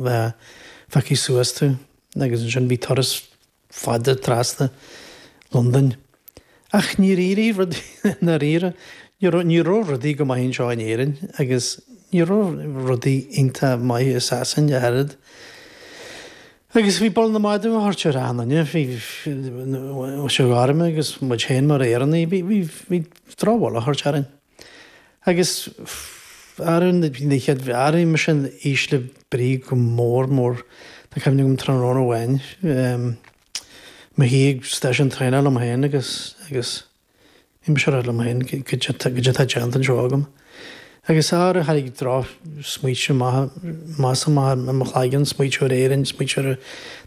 Bheadh feicthe suas tú agus ansin bhí turas fada trasna Londain. Ach níor éirigh rudaí, i ndáiríre, ní raibh, ní raibh rudaí go maith anseo in Éirinn agus ní raibh rudaí iontach maith i Sasain ach oiread. Agus bhí bull na madadh á thabhairt ar achan nduine, bhí, bhí sé orm agus muid féin mar Éireannaigh, bhí, bhí, bhí drochbhail á thabhairt orainn. Agus airiú na chéad, airím mise in ísle brí go mór mór. Tá cuimhne agam tráthnóna amháin, mo shuí ag stáisiún traenach liom féin agus, agus bhí mise ag rá liom féin goidé atá déanta anseo agam. Agus airiú tháinig droch smaointe amach, amach amach i mo chloigeann, smaoitiú ar Éirinn, smaoitiú ar,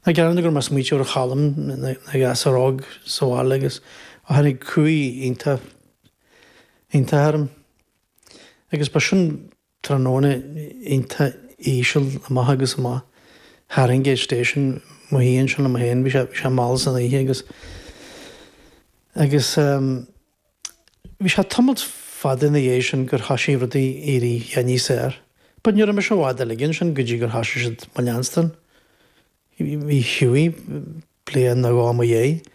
ná gearán go raibh mé ag smaoitiú ar Cholm, na gasúir óg sa bhaile agus tháinig cumhaidh iontach iontach orm. Agus ba sin tráthnóna iontach íseal amach agus amach. Haringey Station, mo shuí ansin liom féin, bhí sé, bhí sé mall san oíche agus, agus ehm bhí sé tamalt fada ina dhiaidh sin gur thoisigh rudaí éirí níos fhearr. But ní raibh mise i bhfad uilig ansin go dtí gur thoisigh siad mo leanstan. Bhí Hughie bliain nó dhó i mo dhiaidh.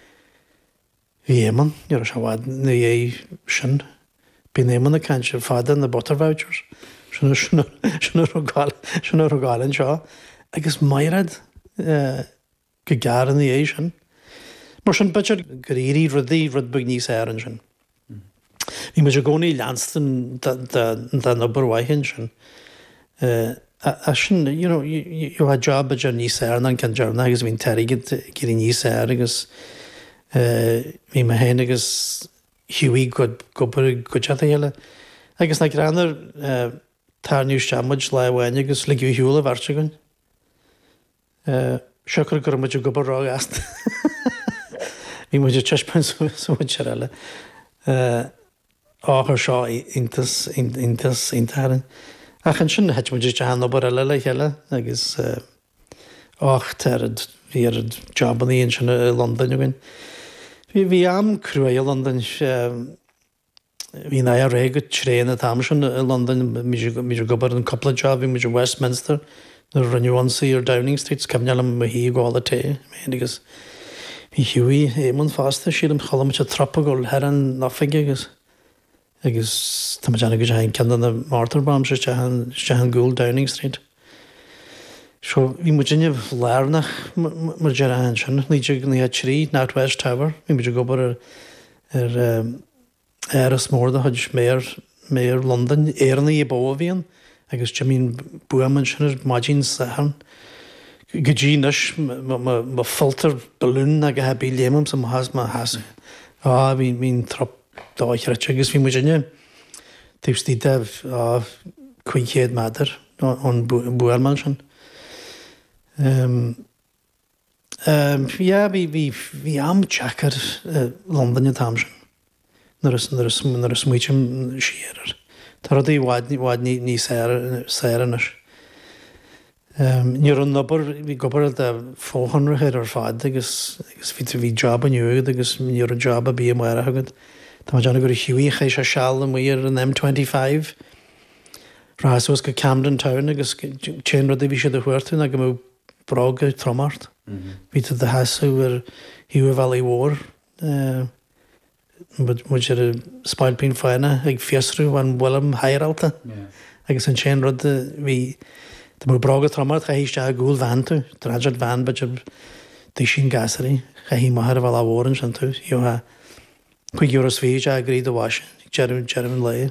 Bhí Éamonn, ní raibh sé i bhfad ina dhiaidh sin, bíonn Éamonn ag caint ar fad ar na butter vouchers, sin sin sin a raibh ag sin a raibh ag gabháil anseo, agus Mairéad go gearr ina dhiaidh sin. Mar sin, b'fhéidir gur éirigh rudaí rud beag níos fhearr ansin. Bhí muid i gcónaí ag leanstan den obair mhaith ansin. Ach sin, you know, you had job b'fhéidir níos fearr ná an ceann deireanach agus bhí an t-airgead ag éirí níos fearr agus bhí mé féin agus Hughie ag obair i gcuideachta a chéile. Agus nach greannmhar, tarraingíodh isteach muid lá amháin agus ligeadh ar shiúl an bheirt againn. Siocair go raibh muid ag obair róghasta. Bhí muid ag taispeáint suas an mhuintir eile. Á chuir seo iontas, iontas, iontach orainn. Ach ansin thit muid isteach in obair eile le chéile agus och, tá oiread, bhí oiread jabannaí ansin i Londain againn. Bhí, bhí am cruaidh i Londain, bhí an IRA go tréan an t-am sin i Londain, bhí muid ag obair in cúpla job, bhí muid i Westminster nuair a rinneadh ionsaí ar Downing Street, is cuimhin liom mo shuí ag ól an tae, mé féin agus bhí Hughie, Éamonn fosta, sílim, chuala muid an trup ag dul thar an oifig agus agus tá muid ag déanamh go dteachaigh ceann de na mortar bombs isteach in isteach i gcúl Downing Street. So bhí muidinne lárnach mar a déarfá ansin, 1993, NatWest Tower, bhí muid ag obair ar ar Áras mór de chuid Mayor, Mayor Londain, Éireannaigh ba mhó a bhí ann agus d'imigh an buama ansin ar maidin Sathairn. Go dtí anois, má pholltar balún ná a dhath ar bith léimimse amach as mo sheasamh. Á, bhí, bhí an trup dochreidte agus bhí muidinne taobh istigh de, á, 500 méadar ón buama ansin. Yeah, bhí, bhí, bhí am deacair i Londain an t-am sin, nuair a, nuair a, nuair a smaoitím siar air. Tá rudaí i bhfad, i bhfad níos fearr anois. Ní raibh an obair, bhí ag obair do fochonraitheoir ar fad agus, agus bhí, bhí job inniu agat agus ní raibh job ar bith amárach agat. Tá mé ag déanamh go raibh Hughie, chaith sé seal amuigh ar an M25, rachfá suas go Camden Town agus t-aon rud a bhí siad a thabhairt ná go mbeadh bróga troma ort. Bhí tú i do sheasamh ar thaobh an bhealaigh mhóir, muid ar an Spailpín Fánach ag fiosrú an bhfuilim haireálta agus an t-aon rud a bhí, dá mbeadh bróga troma ort, chaithfí isteach i gcúl veain tú, transit van b'fhéidir duisín gasúraí, chaithfí amach ar an bhealach mhór ansin tú, gheofá €25 isteach i gcroí do bhoise ag deireadh deireadh an lae.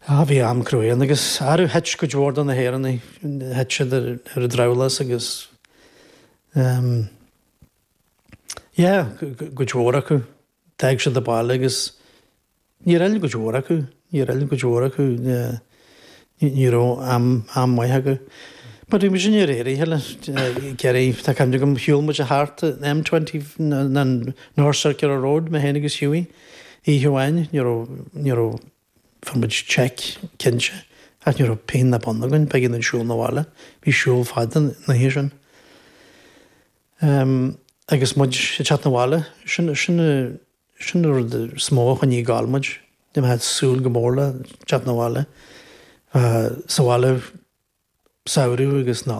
Ah, bhí am cruaidh ann agus arú thit cuid mhór de na hÉireannaigh, thit siad ar ar an drabhlás agus ehm yeah, cuid mhór acu, d'fhág siad an baile agus Níor fhill cuid mhór acu, níor fhill cuid mhór acu, ní raibh am, am maith acu. But bhí muid de réir a chéile ag iarraidh, tá cuimhne agam, shiúil muid thart an M20, an North Circular Road, mé féin agus Hughie, oíche amháin, ní raibh, ní raibh, fuair muid cheque, cinnte, ach ní raibh pingin ná bonn againn, b'éigean dúinn siúl 'na bhaile, bhí siúl fada an oíche sin. Agus muid ag teacht 'na bhaile, sin, sin, Sin an rud is mó a choinnigh ag gabháil muid. Bhí mé ag súil go mór le teacht 'na bhaile. Sa bhaile. Samhradh agus Nollaig.